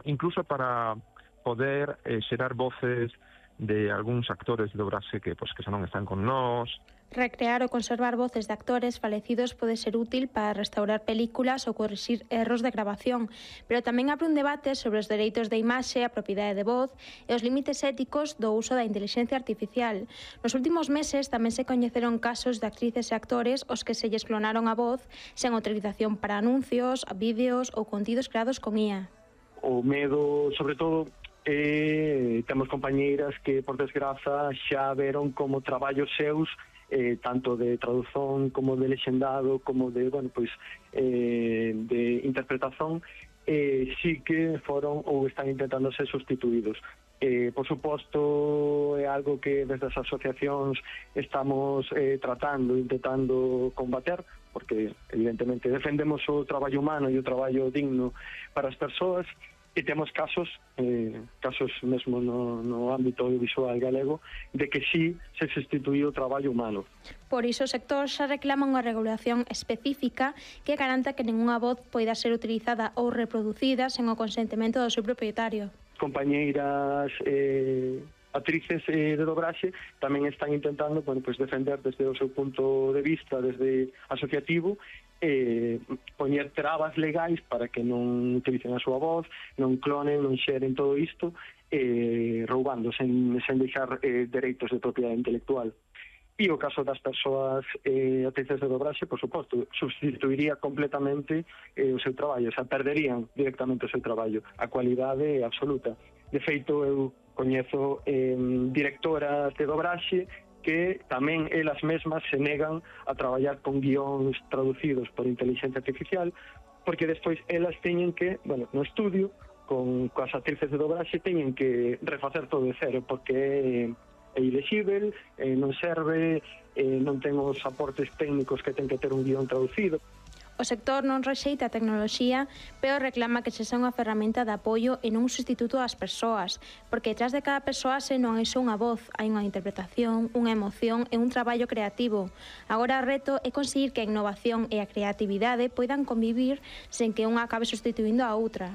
incluso para poder xerar voces de algúns actores de dobraxe que xa non están con nós. Recrear ou conservar voces de actores falecidos pode ser útil para restaurar películas ou corrixir erros de grabación, pero tamén abre un debate sobre os dereitos de imaxe, a propiedade de voz e os límites éticos do uso da inteligencia artificial. Nos últimos meses tamén se coñeceron casos de actrices e actores os que se lles clonaron a voz sen autorización para anuncios, vídeos ou contidos creados con IA. O medo, sobre todo, temos compañeiras que, por desgraza, xa veron como traballos seus tanto de traducción como de lexendado como de, de interpretación sí que foron ou están intentando ser sustituídos. Por suposto, é algo que desde as asociacións estamos intentando combater, porque evidentemente defendemos o traballo humano e o traballo digno para as persoas. E temos casos mesmo no ámbito audiovisual galego de que sí se sustituíu o traballo humano. Por iso o sector xa reclama unha regulación específica que garanta que ningunha voz poida ser utilizada ou reproducida sen o consentimento do seu propietario. Compañeiras actrices de dobraxe tamén están intentando defender desde o seu punto de vista, desde asociativo, poñer trabas legais para que non utilicen a súa voz, non clonen, non xeren todo isto, roubando sen deixar dereitos de propiedade intelectual. E o caso das persoas actrices de dobraxe, por suposto, substituiría completamente o seu traballo, perderían directamente o seu traballo, a cualidade absoluta. De feito, eu coñezo directoras de dobraxe que tamén elas mesmas se negan a traballar con guións traducidos por inteligencia artificial, porque despois elas teñen que, no estudio, coas actrices de dobraxe, teñen que refacer todo de cero, porque é ilexível, non serve, non ten os aportes técnicos que ten que ter un guión traducido. O sector non rexeita a tecnoloxía, pero reclama que sexa unha ferramenta de apoio e non un sustituto ás persoas, porque detrás de cada persoa non hai só unha voz, hai unha interpretación, unha emoción e un traballo creativo. Agora o reto é conseguir que a innovación e a creatividade poidan convivir sen que unha acabe sustituindo a outra.